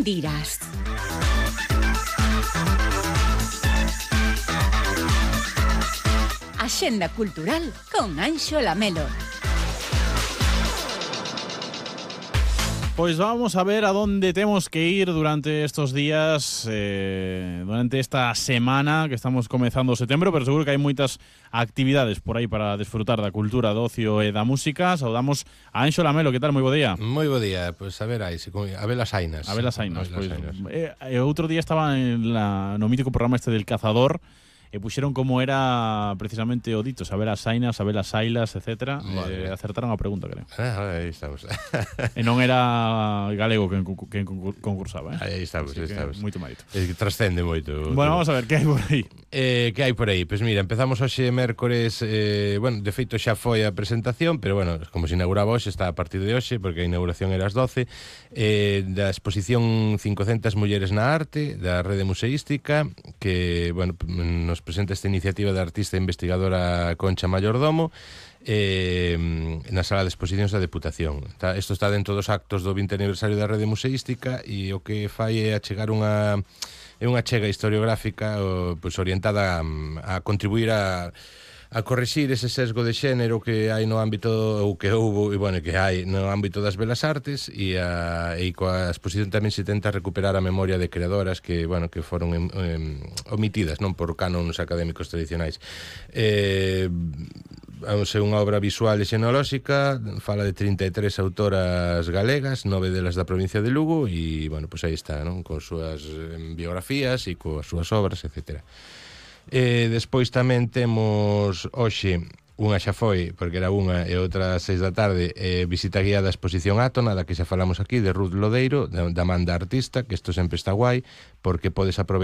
quen dirás. Axenda cultural con Anxo Lamelo. Pois vamos a ver a dónde temos que ir durante estos días, durante esta semana que estamos comezando setembro, pero seguro que hai moitas actividades por aí para desfrutar da cultura, do ocio e da música. Saudamos a Anxo Lamelo, que tal? Moi bo día. Moi bo día, pois a ver aí, a ver as ainas. A ver as ainas, pois. Outro día estaba no mítico programa este del Cazador, e puxeron como era precisamente o dito, saber as ainas, saber as ailas, etc. Acertaron a pregunta, creo. Aí estamos. E non era galego quen concursaba, Aí estamos, así estamos. Moito mérito. Trascende moito. Bueno, vamos a ver, que hai por aí? Que hai por aí? Pois mira, empezamos hoxe mércores, bueno, de feito xa foi a presentación, pero bueno, como se inauguraba hoxe, está a partir de hoxe, porque a inauguración era ás 12, da exposición 500 mulleres na arte, da Rede Museística, que, bueno, nos presenta esta iniciativa da artista e investigadora Concha Mayordomo na sala de exposicións da Deputación. Isto está dentro dos actos do 20 aniversario da Rede Museística e o que fai é achegar unha chega historiográfica pois orientada a contribuir a correxir ese sesgo de xénero que hai no ámbito, ou que houve, e bueno, que hai no ámbito das belas artes, e coa exposición tamén se tenta recuperar a memoria de creadoras que, bueno, que foron omitidas, non por cánones académicos tradicionais. É unha obra visual e xenolóxica, fala de 33 autoras galegas, 9 delas da provincia de Lugo, e, bueno, pois aí está, non? Con súas biografías e coas súas obras, etcétera. Despois tamén temos hoxe, unha xa foi, porque era unha, e outra ás 6 da tarde, visita guiada a exposición Átona, da que xa falamos aquí, de Ruth Lodeiro, da man da artista, que isto sempre está guai, porque podes aproveitar